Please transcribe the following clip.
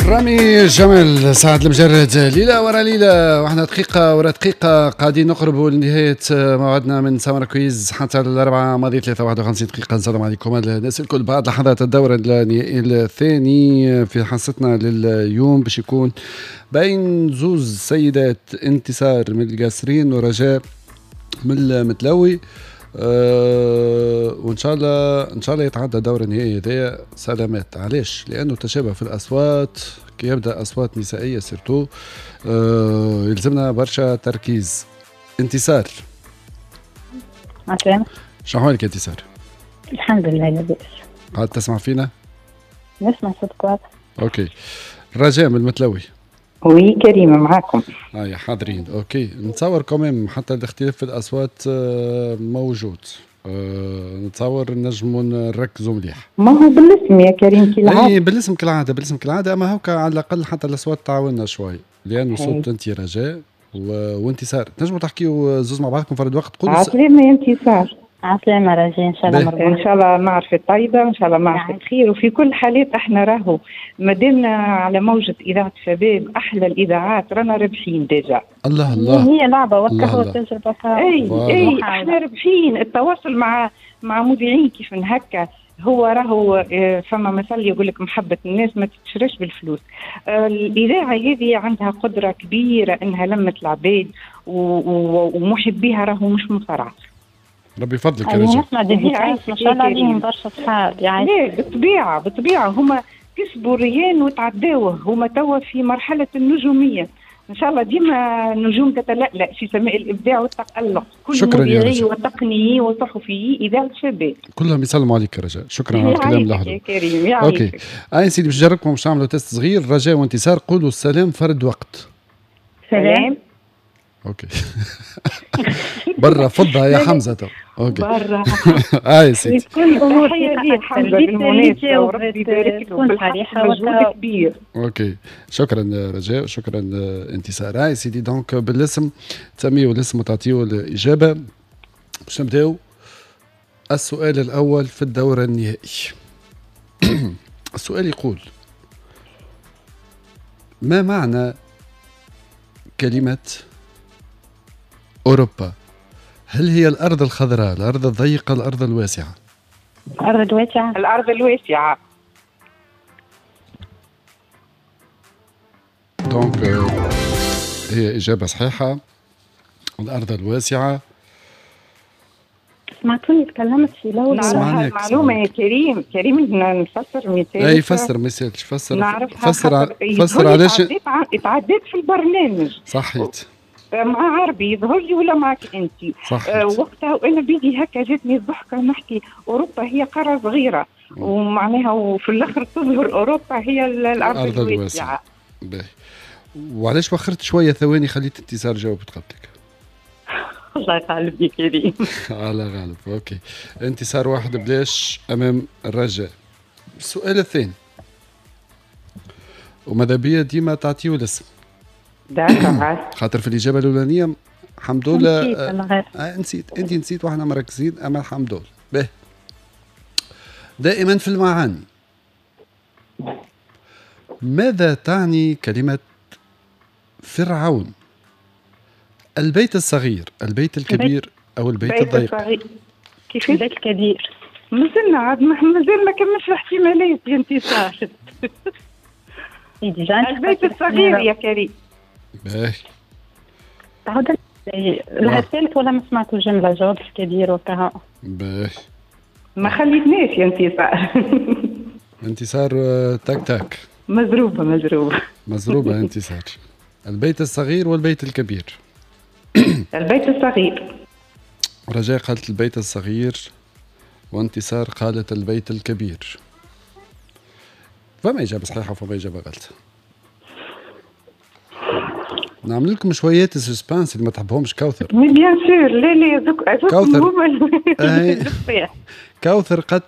رامي جمال، سعد المجرد، ليلة ورا ليلة واحنا دقيقة ورا دقيقة قاعدين نقربوا لنهاية موعدنا من سمر quiz حتى الأربعة ماضي 53 دقيقة. السلام عليكم الناس الكل. بعد لحظات الدور النهائي الثاني في حصتنا لليوم باش يكون بين زوز سيدات، انتصار من القاسرين ورجاء من المتلوي. وان شاء الله ان شاء الله يتعدى دور النهائي هذايا سلامات. علاش؟ لانه تشابه في الاصوات، كي يبدا اصوات نسائية surtout يلزمنا برشا تركيز. انتصار. عسلامة. شو احوالك انتصار؟ الحمد لله لاباس. قاعد تسمع فينا؟ نسمع صوتك واضح. OK. رجاء من المتلوي. oui كريمة معاكم. يا حاضرين. OK نتصور quand même حتى الاختلاف في الاصوات موجود، نتصور نجموا نركزوا مليح. ما هو بالاسم يا كريم كالعادة. اي بالاسم كالعادة، بالاسم كالعادة، اما هوكا على الاقل حتى الاصوات تعاوننا شوي، لانه صوت انت رجاء وانتصار تنجموا تحكيوا زوز مع بعضكم فرد وقت. قولوا عسلامة يا انتصار. عسلامة رجاء، ان شاء الله مرحبا. ان شاء الله معرفة طيبة، وان شاء الله معرفة خير. وفي كل حالات احنا راهو مادامنا على موجة إذاعة شباب أحلى الإذاعات رانا رابحين déjà. الله الله، هي لعبة وكهو تجربة. اي اي احنا رابحين. التواصل مع مذيعين كيف هكا هو راهو فما مثل يقول لك محبة الناس ما تتشرش بالفلوس. الإذاعة هذه عندها قدرة كبيرة إنها لمت العباد ومحبيها راهو مش مصارعة. ربي يفضلك يا رجل. نسمع dédicaces ما شاء الله عليهم برشا صحاب يعني. لا بالطبيعة بالطبيعة هما كسبوا الرهان وتعداوه، هما توا في مرحلة النجومية. إن شاء الله ديما النجوم تتلألأ في سماء الإبداع والتألق. كل مذيعي وتقنيي وصحفيي إذاعة شباب كلهم يسلموا عليك يا رجاء. شكرا على الكلام اللحظة يا كريم. يعيشك. OK أي سيدي باش نجربكم باش نعملوا test صغير. رجاء وانتصار قولوا السلام فرد وقت. سلام. OK برا فضها يا حمزة تو. OK برا. اي سيدي تحية ليه حمزة بالمناسبة وربي يبارك له بالحق مجهود كبير. OK شكرا رجاء، شكرا انتصار. اي سيدي donc بالاسم تسميو الاسم وتعطيو الاجابة. باش نبداو السؤال الاول في الدور النهائي. السؤال يقول: ما معنى كلمة أوروبا؟ هل هي الأرض الخضراء، الأرض الضيقة، الأرض الواسعة؟ الأرض الواسعة. الأرض الواسعة. donc هي إجابة صحيحة، الأرض الواسعة. سمعتوني تكلمت في الأول. نعرفها المعلومة يا كريم. كريم نفسر مثال. أي فسر مثال، فسر فسر فسر علاش تعديت في البرنامج. صحيت. مع عربي يظهر لي ولا معك انت؟ وقتها وانا بيدي هكا جاتني الضحكة نحكي اوروبا هي قارة صغيرة ومعناها وفي الاخر تظهر اوروبا هي الارض الواسعة. باهي. وعلاش وخرت شوية ثواني خليت انتصار جاوبت قبلك؟ الله يغالب يا كريم. على غالب. OK انتصار 1-0 امام الرجاء. السؤال الثاني وماذا بيا ديما تعطيو الاسم. خاطر في الإجابة الأولانية الحمد لله نسيت، أنت نسيت وإحنا مركزين، أما الحمد لله. به دائما في المعاني، ماذا تعني كلمة فرعون؟ البيت الصغير، البيت الكبير، أو البيت الضيق؟ كيف؟ البيت الكبير. مازلنا عاد مازال ما كملش الاحتمالات يا انتصار. البيت الصغير يا كريم. باهي. تعود الثالث ولا ما سمعتوا الجملة؟ جواب الكبير وكها. باهي. ما خليتناش يا انتصار. انتصار تاك تاك. مزروبة مزروبة. مزروبة انتصار. البيت الصغير والبيت الكبير. البيت الصغير. رجاء قالت البيت الصغير وانتصار قالت البيت الكبير. فما إجابة صحيحة وفما إجابة غلط. نعمل لكم شوية suspense اللي ما تحبهمش كوثر. mais bien sûr. لا لا كوثر. كوثر قالت